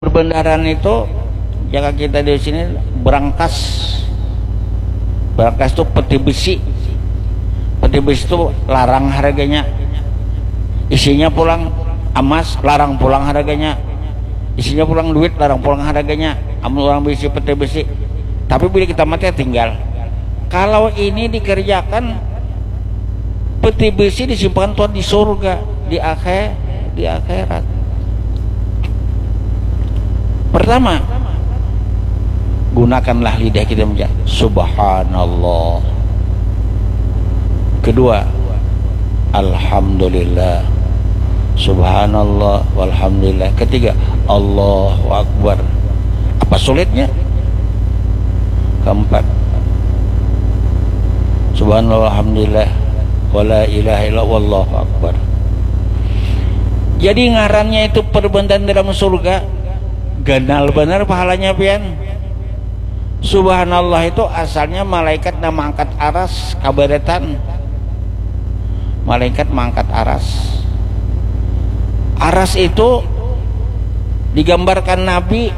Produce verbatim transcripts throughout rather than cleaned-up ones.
Perbendaharaan itu, jaka kita di sini, berangkas. Berangkas itu peti besi. Peti besi itu larang harganya. Isinya pulang emas, larang pulang harganya. Isinya pulang duit, larang pulang harganya. Amun orang bisi peti besi. Tapi bila kita mati, ya tinggal. Kalau ini dikerjakan, peti besi disimpan Tuhan di surga, di akhir, di akhirat. Pertama, gunakanlah lidah kita mengucap subhanallah. Kedua, alhamdulillah. Subhanallah walhamdulillah. Ketiga, Allahu Akbar. Apa sulitnya? Keempat, subhanallah walhamdulillah wala ilaha illallah wallahu akbar. Jadi ngarannya itu perbendaharaan dalam surga, ganal benar pahalanya pian. Subhanallah itu asalnya malaikat nang mangangkat aras kabaratan. Malaikat mangangkat aras. Aras itu digambarkan Nabi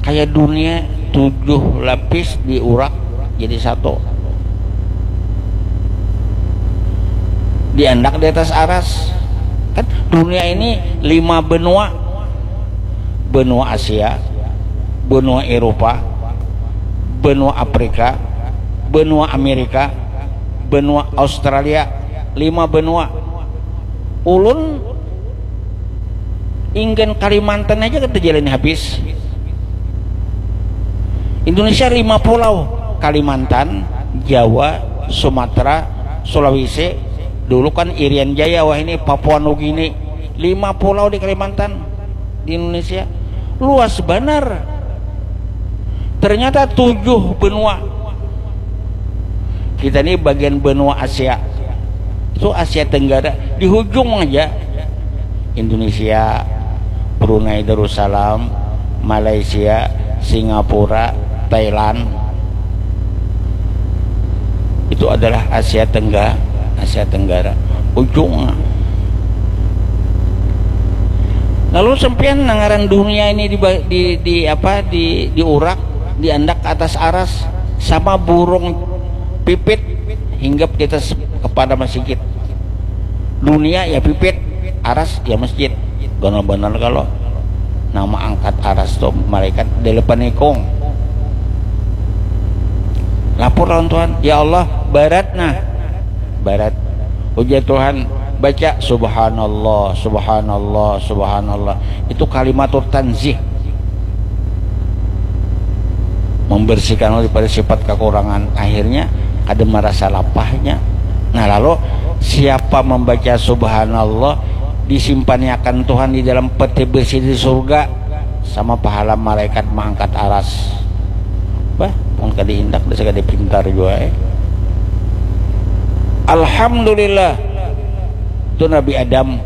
kayak dunia tujuh lapis diurak jadi satu. Diandak di atas aras. Kan dunia ini lima benua. Benua Asia, benua Eropa, benua Afrika, benua Amerika, benua Australia, lima benua. Ulun inggan Kalimantan aja kita jalani habis. Indonesia lima pulau, Kalimantan, Jawa, Sumatera, Sulawesi. Dulu kan Irian Jaya, wah ini Papua Nugini. Lima pulau di Kalimantan, di Indonesia. Luas banar. Ternyata tujuh benua. Kita ini bagian benua Asia. Itu Asia Tenggara. Di hujung aja. Indonesia, Brunei Darussalam, Malaysia, Singapura, Thailand. Itu adalah Asia Tenggara, Asia Tenggara. Ujung. Lalu sampean nang ngaran dunia ini di, di, di apa di diurak, diandak ke atas aras sama burung pipit hinggap di atas kepala masjid. Dunia ya pipit, aras ya masjid. Ganal banar kalau nang maangkat aras tu malaikat dalapan ikung. Lapor lawan Tuhan, "Ya Allah, barat nah." Barat. Ujar Tuhan, "Baca subhanallah, subhanallah, subhanallah." Itu kalimatul tanzih. Membersihkan daripada sifat kekurangan. Akhirnya kada merasa lapahnya. Nah, lalu siapa membaca subhanallah, disimpannya akan Tuhan di dalam peti besi di surga sama pahala malaikat mengangkat aras. Bah, mun kada indak, dasar kada pintar jua, eh. Alhamdulillah. Itu Nabi Adam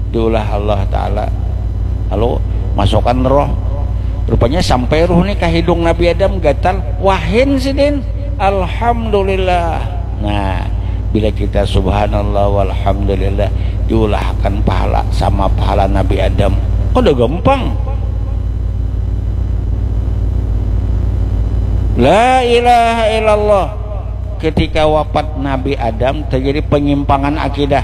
diulah Allah Ta'ala. Lalu masukkan roh. Rupanya sampai roh ni ke hidung Nabi Adam, gatal. Wahin sidin. Alhamdulillah. Nah, bila kita subhanallah walhamdulillah, diulahkan pahala sama pahala Nabi Adam. Kada gampang. La ilaha illallah. Ketika wafat Nabi Adam, terjadi penyimpangan akidah.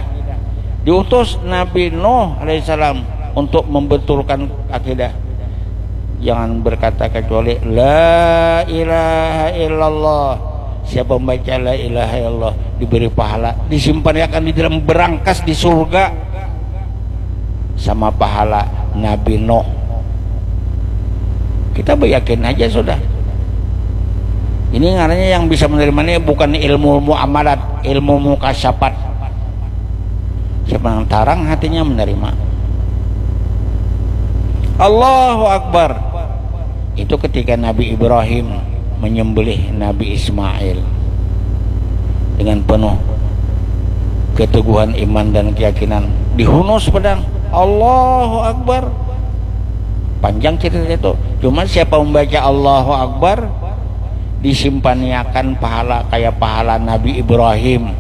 Diutus Nabi Nuh alaihissalam untuk membetulkan akidah. Jangan berkata kecuali la ilaha illallah. Siapa membaca la ilaha illallah diberi pahala, disimpan akan di dalam berangkas di surga sama pahala Nabi Nuh. Kita beryakin aja sudah. Ini ngarannya yang bisa menerima ini bukan ilmu muamalat, ilmu mukasyapat. Siapa yang tarang hatinya menerima. Allahu Akbar. Itu ketika Nabi Ibrahim menyembelih Nabi Ismail dengan penuh keteguhan iman dan keyakinan, dihunus pedang. Allahu Akbar. Panjang cerita itu. Cuma siapa membaca Allahu Akbar, disimpaniakan pahala kayak pahala Nabi Ibrahim.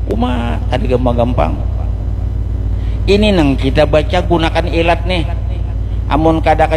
Uma, kada gampang-gampang. Ini nang kita baca gunakan ilat nih. Amun kada